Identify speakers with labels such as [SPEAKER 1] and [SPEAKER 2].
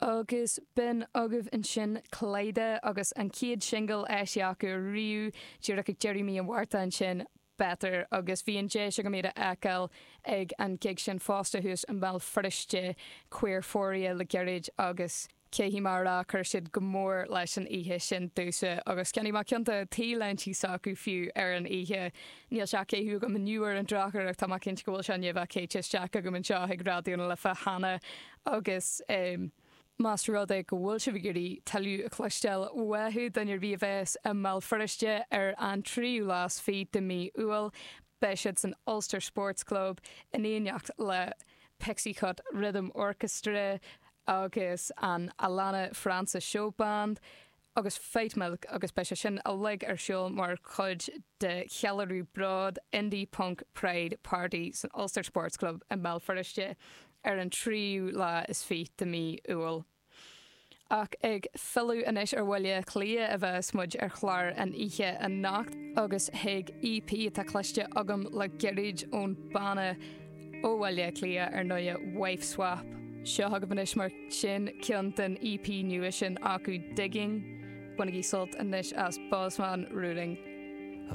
[SPEAKER 1] Agus b'in agaibh ansin Kaleida agus an chéad singil eisithe acu riamh, díreach ag deireadh mí an Mhárta ansin, Better. Agus bhí an deis agam iad a fheiceáil ag an gig sin fosta thuas i mBéal Feirste, Queerphoria le gairid agus caithfidh mé a rá chuir siad go mór leis an oíche sin domhsa agus cheannaigh mé ceann de t-léintí s'acu fiú ar an oíche. Níl sé á chaitheamh agam inniu ar an drochuair ach tá mé cinnte go bhfuil sé i ndiaidh bheith caite isteach agam anseo ag Raidió na Life cheana agus más rud é go bhfuil sibh ag iarraidh tuilleadh a chloisteáil uathu, duine ar bith a bheas i mBéal Feirste ar an tríú lá is fiche de mí Iúil, beidh siad san Ulster Sports Club in éineacht le Pixie Cut Rhythm Orchestra agus an Alana Francis Showband. agus Fight Milk agus beidh sé sin uilig ar siúl mar chuid de cheiliúradh Bród Indie Punk Pride Party san Ulster Sports Club i mBéal Feirste ar an tríú lá is fiche de mí Iúil. Ach ag filleadh anois ar Bhaile Átha Cliath a bheas muid ar chlár an oíche anocht agus chuig EP atá cloiste agam le gairid ón banna Ó Bhaile Átha Cliath, ar ndóighe, Wife Swap. Seo agaibh anois mar sin ceann den EP nua sin acu, Digging. Bainigí sult anois as Bosman Ruling.